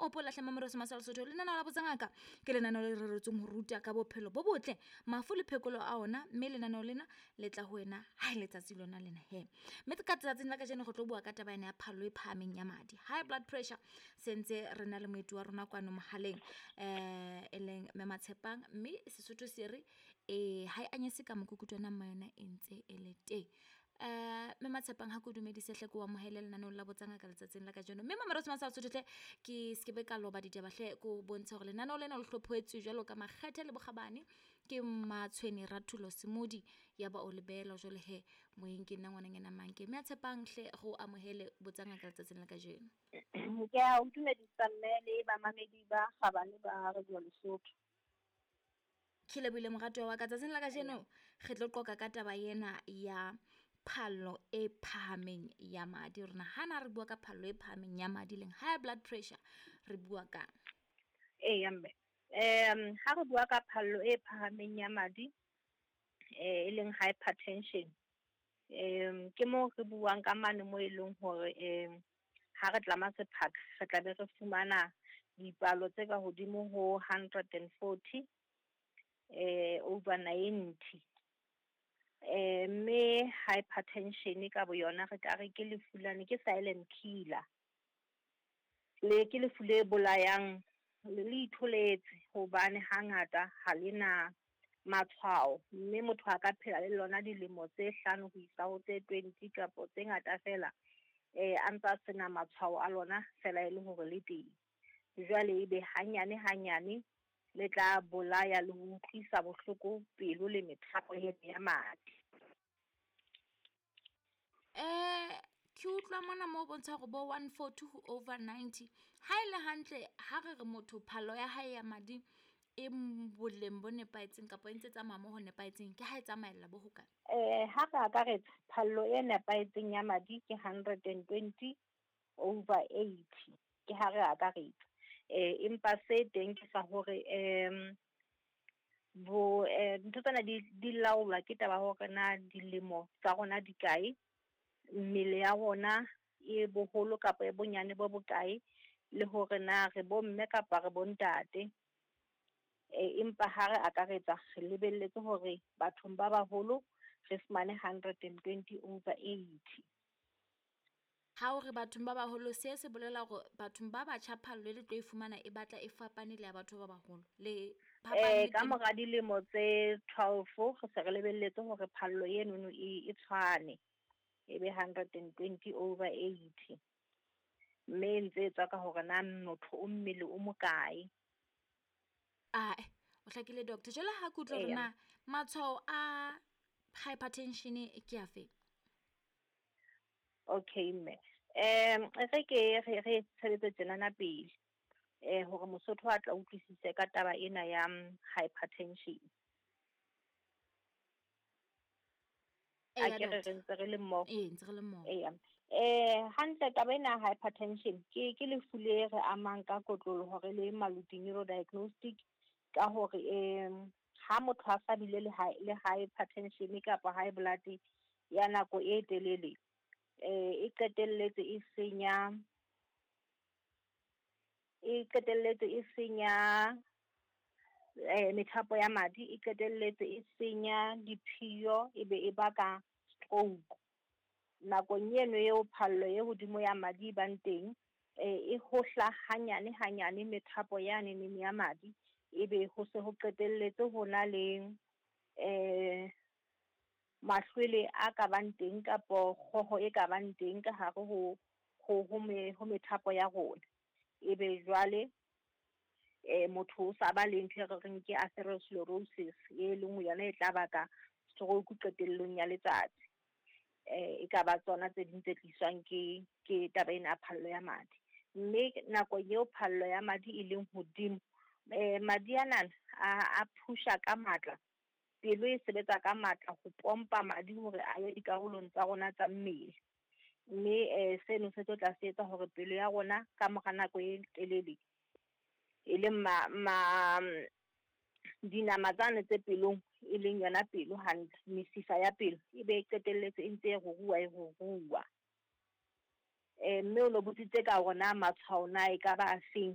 Opola hle mamoreso masala Sotho lenaneo la botsangaka ke lenaneo le reretsweng ho ruta ka bophelo bo botle, mafu le phekolo a ona, mme lenaneo lena le tla ho wena ha e letsatsi lona lena he. Mme ka tsatsing la kajeno re tlo bua ka taba ena ya phallo e phahameng ya madi, high blood pressure. Sentse re na le moeti wa rona kwano mohaleng, e leng Mme Matshepang, mme Sesotho se re ha e anyese ka mokukutwana mma yona e ntse e le teng. Mme Matshepang, ha ke o dumedise hle, ke o amohele lenaneong la Botsangaka letsatsing la kajeno. Mme Mamerotsho Masala Sotho hle, ke sekebe ka loba ditaba hle, ko bontshe hore lenaneo lena le hlophoetswe jwalo ka makgethe le bokgabane ke Matshwene Rathulo Semodi ya ba o lebela jwale he moyeng ke nna ngwananyana Manke. Mme a Tshepang hle, go amohele Botsangaka letsatsing la kajeno. Ke a o dumedisa mme le bamamedi ba kgabane ba Radio Lesotho. Ke lebohile moratuwa wa ka. Tsatsing la kajeno re tlo qoqa ka taba ena ya phallo e phahameng ya madi. Rona ha na re bua ka phallo e phahameng ya madi leng high blood pressure, re bua ka Eya mme, ha re bua ka phallo e phahameng ya madi, e leng hypertension, ke moo re buang ka mane mo e leng hore ha re tlama sephaka re tla be re fumana dipalo tse ka hodimo ho 140 over 90. Mme hypertension ka boyona re ka re ke lefu lane, ke silent killer. Le ke lefu le bolayang le itholetse, hobane hangata ha le na matshwao, mme motho a ka phela le lona dilemo tse 5 ho isa ho tse 20 kapa tse ngata fela, a ntsa sena matshwao a lona fela e le hore le teng. Jwale ebe hanyane hanyane le tla bolaya le ho utlwisa bohloko pelo le methapo ya madi. Ke utlwa mona mo bontsha hore bo 140 over 90. Ha e le hantle, ha re re motho phallo ya hae ya madi e boleng bo nepahetseng kapa e ntse tsamaya mo ho nepahetseng, ke ha e tsamaella bo hokae? Ha re akaretsa, phallo e nepahetseng ya madi ke 120 over 80, ke ha re akaretsa. Empa se teng ke sa hore bo ntho tsena di laolwa ke taba hore na dilemo tsa rona di kae, mmele ya rona e boholo kapa e bonyane bo bokae, le hore na re bomme kapa re bontate. Empa ha re akaretsa re lebelletse hore bathong ba baholo re fumane 120 over 80. Ha o re bathong ba baholo, se bolela hore bathong ba batjha phallo e le tlo e fumana e batla e fapane le ya batho ba baholo. Le Ka mora dilemo tse 12 re se re lebelletse hore phallo enono e tshwane, e be 120 over 80. Mme e ntse e tswa ka hore na motho o mmele o mokae. O hlakile doctor. Jwale ha ke utlwa hore na matshwao a hypertension ke afe? Okay mme, re ke re tshebetse tjenana pele, hore Mosotho a tla utlwisise ka taba ena ya hypertension. A ke re ntse re le mmoho. Ee, ntse re le mmoho. Eya. Hantle taba ena ya hypertension ke lefu le re amang ka kotloloho re le Maluti Neurodiagnostic, ka hore ha motho a sa bile le hypertension kapa high blood ya nako e telele, e qetelletse e senya, e qetelletse e senya methapo ya madi, e qetelletse e senya diphiyo, e be e baka stroke. Nakong eno eo phallo e hodimo ya madi e bang teng, e hohla hanyane hanyane methapo yane ya madi, ebe ho se ho qetelletse ho na le mahlwele a ka bang teng kapo kgoho e ka bang teng ka hare ho methapo ya rona. Ebe jwale motho o sa ba le ntho e re reng ke atherosclerosis, e leng yona e tla baka stroke qetellong ya letsatsi. E ka ba tsona tse ding tse tliswang ke taba ena ya phallo ya madi. Mme nako eo phallo ya madi e leng hodimo, madi anana a phusha ka matla, pelo e sebetsa ka matla ho pompa madi hore a ye dikarolong tsa rona tsa mmele. Mme seno se tlo tla se etsa hore pelo ya rona ka mora nako e telele, e leng dinama tsane tse pelong, e leng yona pelo hantle, mesifa ya pelo, e be e qetelletse e ntse e ruruha e ruruha. Mme o no botsitse ka hore na matshwao na e ka ba a feng.